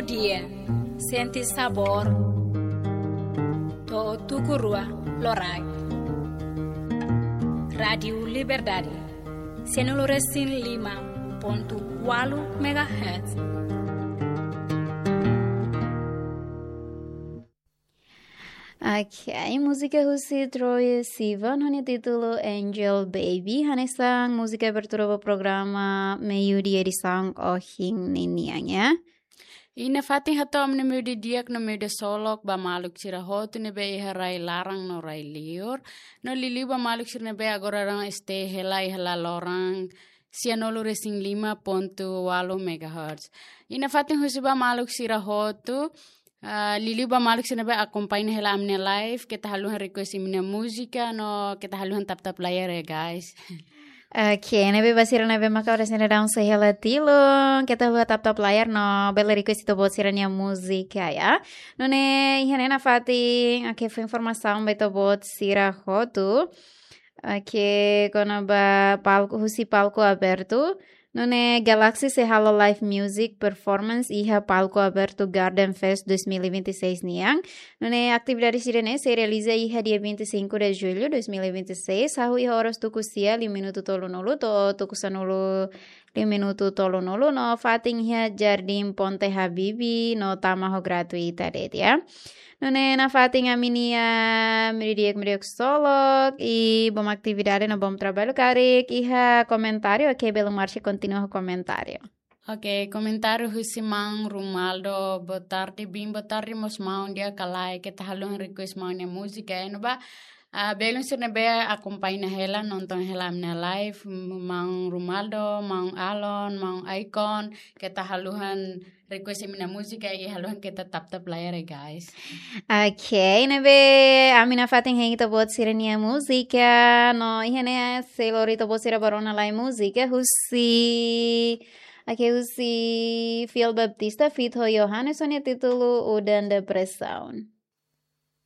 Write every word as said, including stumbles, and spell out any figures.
Dia, sente sabór to'o tuku rua loraik. Rádiu Liberdade, sianulu resin lima pontu ualu megahertz. Ok, múzika husi Troye Sivan, ho nia títulu Angel Baby, hanesan múzika abertura ba programa Meiudia edisaun ohin ninian, ya. I nafatin hato'o ami-nia meiudia di'ak no meiudia solok ba maluk sira hotu ne'ebé iha rai laran no rai liur. No liuliu ba maluk sira ne'ebé agora daudaun stay hela iha laloran sianulu resin lima pontu ualu megahertz. I nafatin husu ba maluk sira hotu, ah, liuliu ba maluk sira ne'ebé akompaña hela ami-nia live, keta haluha request imi-nia múzika, no keta haluha tap-tap layar ya, guys. Ok, ne'ebé ba sira ne'ebé maka oras ne'e daudaun sei hela tilun, keta haluha tap-tap layar no bele request ita-boot sira-nia múzika, ya. Nune'e, iha ne'e nafatin, ok, fó informasaun ba ita-boot sira hotu. Ok, kona-ba palku, husi palku abertu. Nune'e Galaxy sei halo live music performance iha palku abertu Garden Fest dois mil e vinte e seis nian. Nune'e atividade sira-ne'e sei realiza iha dia vinte e cinco de julho dois mil e vinte e seis, hahú iha oras tuku sia liu minutu tolunulu to'o tuku sanulu liu minutu tolunulu no fatin iha Jardim Ponte Habibie no tama ho gratuita de'it, ya. Nune'e nafatin ami-nia meiudia di'ak, meiudia solok, i bom atividade no bom traballu karik iha komentáriu, ok, belun Marcia kontinua ho komentáriu. Ok, komentáriu husi maun Rumaldo, boa tarde, Bim, boa tarde, mós maun di'ak ka lae, keta haluha request maun nia múzika, ya, no ba, ah, belun sira ne'ebé akompaña hela, nonton hela ami-nia live, maun Rumaldo, maun Alon, maun Icon, keta haluha request imi-nia múzika i haluha keta tap-tap layar ya, guys. Ok, ne'ebé ami nafatin hein ita-boot sira-nia múzika, no iha ne'e sei lori ita-boot sira ba rona lai múzika husi, ok, husi Fiel Baptista feat ho Johannes ho nia títulu Udan Depresaun.